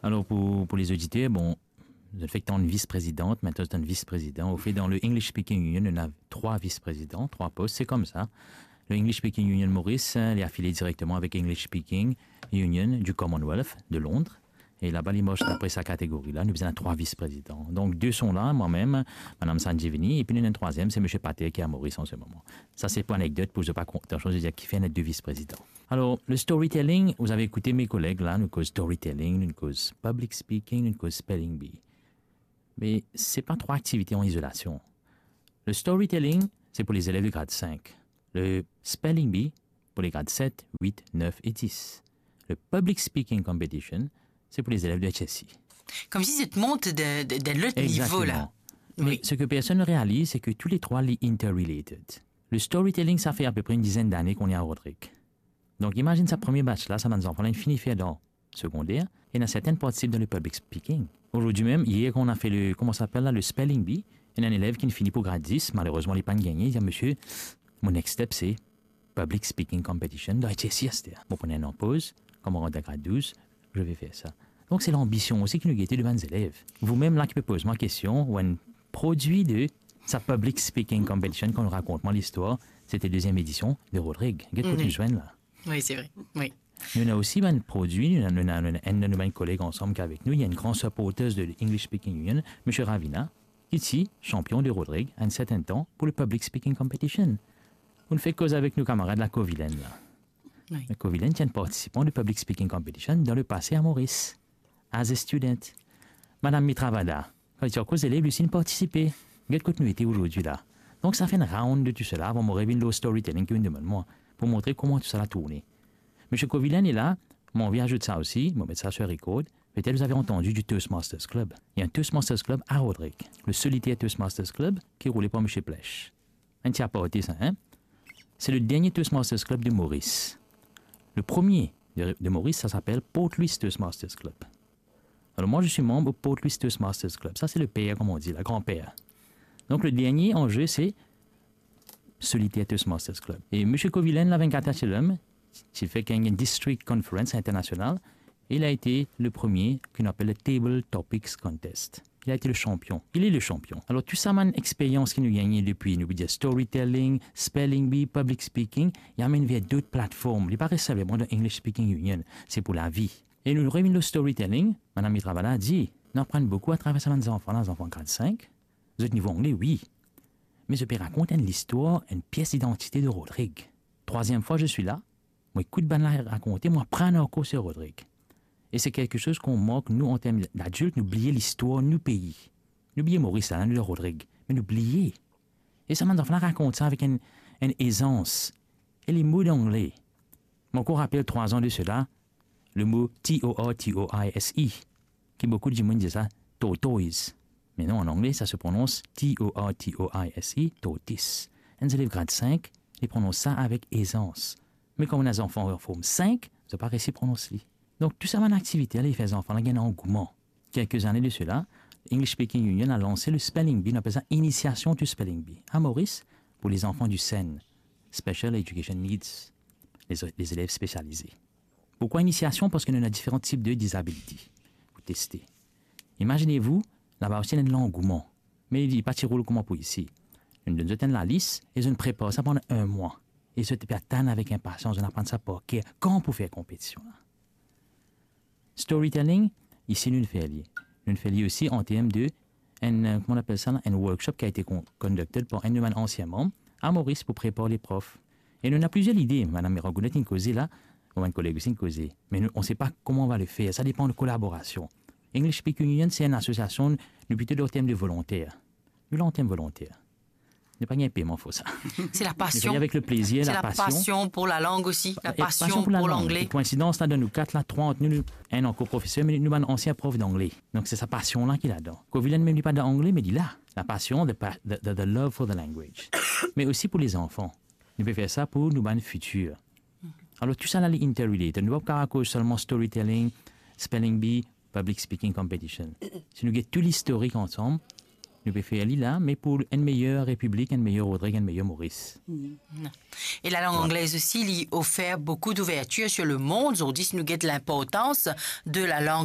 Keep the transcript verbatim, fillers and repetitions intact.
Alor, pou, pou lezoditer, bon, zot fek tann vis-prezidan, mintnan zot tann vis-prezidan. Anfet, dan le English Speaking Union, nou ena trwa vis-prezidan, trwa pos, se koumsa. Le English Speaking Union Maurice, eh, li afilie direkteman avek English Speaking Union du Commonwealth de Londres. E laba, li mars dapre sa kategori la, nou bizin trwa vis-prezidan. Donk, de son la, mwa mem, Madam Sanjivini, epi nou ena enn trwaziem, se Misie Pater ki a Moris an se moman. Sa, se pou anekdot, pou zot pa kon-, atansion, zot dir, "Kifer ena de vis-prezidan?" Alor, le storytelling, vous avez écouté mes collègues la, nou koz storytelling, nou koz public speaking, nou koz spelling bee. Me se pa trwa aktivite an izolasion. Le storytelling, se pou lezelev de grad sink. Le spelling bee, pou le grad set, wit, nef e dis. Le public speaking competition, se pou lezelev de H S C. Komsi zot mont de, de, de lot nivo la. Exactement. Mais ce que personne ne réalise, c'est que tous les trois, li interrelated. Le storytelling, ça fait à peu près une dizaine d'années qu'on est à Rodrig. Donk, imazinn sa premie batch la, sa bann zanfan la, inn fini fer dan segonder, ena sertin partisip dan le public speaking. Aujourd'hui même, hier, quand on a fait le, comment ça s'appelle là, le spelling bee, ena enn elev ki fini pou grad dis, malerezman, li pa'nn gagne, li dir, "Monsieur, mon next step, c'est public speaking competition dan H S C aster." Bon, pran enn poz, kan mo rant dan grad douz, je vais faire ça. Donk, se lanbision osi ki nou gete de bann zelev. Vous-même la ki pe poz mwa kestion, ou enn prodwi de sa public speaking competition, kan ou rakont mwa listwar, se te deziem edision de Rodrig. Get kot nou zwenn la. Oui, c'est vrai. Oui. Nou ena osi bann prodwi, nou ena, nou ena, nou ena enn de nou bann koleg ansam ki avek nou, li enn gran supporters de English Speaking Union, Misie Ravina, ki ti sanpion de Rodrig enn sertin tan pou le public speaking competition. Ou fek koz avek nou kamarad la, Kovilen la. Oui. Kovilen ti enn partisipan de public speaking competition dan le pase a Moris, as a student. Madam Mitravada, kan li ti ankor zelev, li osi inn partisipe. Get kot nou ete azordi la. Donk, sa fer enn round de tou sela, avan mo revinn lor storytelling ki ou demann mwa, pou montre kouma tou sala tourne. Misie Kovilen li la, mo anvi azout sa osi, mo met sa sur record, peut-être vous avez entendu du Toastmasters Club. Il y a un Toastmasters Club à Rodrig, le solitaire Toastmasters Club qui est roulé par Monsieur Plech. Enn ti aparte sa, hein? C'est le dernier Toastmasters Club de Maurice. Le premier de, de Maurice, ça s'appelle Port Louis Toastmasters Club. Alors moi, je suis membre au Port Louis Toastmasters Club. Ça, c'est le père, comme on dit, le grand-père. Donc, le dernier en jeu, c'est Solitaire Toastmasters Club. E Misie Kovilen, la, vingt-quatre H L M, ti fer enn district conference international, il a été le premier qu'on appelle le Table Topics Contest. Il a été le champion. Il est le champion. Alor, tou sa bann experience ki nou gagne depi, nou pe dir storytelling, spelling bee, public speaking, li amenn ver dot platform. Li pa res selman dan English Speaking Union. Se pou lavi. E nou revinn lor storytelling, Madam Mitravada dir, nou aprann boukou atraver sa bann zanfan la, zanfan grad sink. Zot nivo angle, wi. Me zot pe rakont enn listwar, enn pies didantite de Rodrig. Troisième fois je suis là, mo ekout bann la rakonte, mo aprann ankor sur Rodrig. E se quelque chose qu'on manque, nou, an term d'adilt, nou bliye listwar nou pei. Nou bliye Moris la, nou dan Rodrig, me nou bliye. E sa bann zanfan la rakont sa avek enn, enn ezans. E le mo angle, mo ankor rapel trwa an de sela, le mo T O R T O I S E, ki boukou dimoun dir sa tortoise. Me non, an angle, sa se prononse T O R T O I S E, tortoise. Enn zelev grad sink, li pronons sa avek ezans. Me kouma ena zanfan form sink, zot pa resi pronons li. Donk, tou sa bann aktivite la, li fer zanfan la gagn angouman. Quelques années de cela, English Speaking Union a lansé le spelling bee, nou apel sa initiation to spelling bee, a Moris, pou lezanfan di SEN, Special Education Needs, les, les élèves spécialisés. Pourquoi initiation? Parski nou ena diferan tip de disability pou teste. Imazinez-vous, laba osi ena langouman, me li pa ti roul kouma pou isi. Nou donn zot enn lalis e zot prepar sa pandan enn mwa. E zot pe atann avek inpasians, zot aprann sa par ker, kan pou fer konpetision la. Storytelling, isi nou fer li. Nou fer li osi an term de enn, euh, kouma nou apel sa la, enn workshop ki a été con-, conducted par enn de bann ansien manm a Moris pou prepar le prof. E nou ena plizier lide, Madam Miragonet inn koze la, mo bann koleg osi inn koze. Me nou, on sait pas comment on va le faire, sa depan de kolaborasion. English Speaking Union, se enn asosiasion, nou plito dan term de volonter. Nou la an term volonter. Nou pa gagn peman pou sa. Se la pasion. Nou fer li avek le plezir, la pasion. Se la pasion pou lalang osi, la pasion pou lalang. E koinsidans la, dan nou kat la, trwa ant nou, nou, enn ankor profeser, me nou bann ansien prof dangle. Donk, se sa pasion la ki ladan. Kovilen mem li pa dan angle, me li la. La pasion, the pa-, the, the, the love for the language. Me osi pou lezanfan. Nou pe fer sa pou nou bann fitir. Alor, tou sa la, li interrelated. Nou pa kapav koz selman storytelling, spelling bee, public speaking competition. Si nou get tou listorik ansam, nou pe fer li la, me pou enn meyer Repiblik, enn meyer Rodrig, enn meyer Moris. E lalang anglez osi, li ofer boukou d'ouvertir sur le mond. Zordi, si nou get linportans de lalang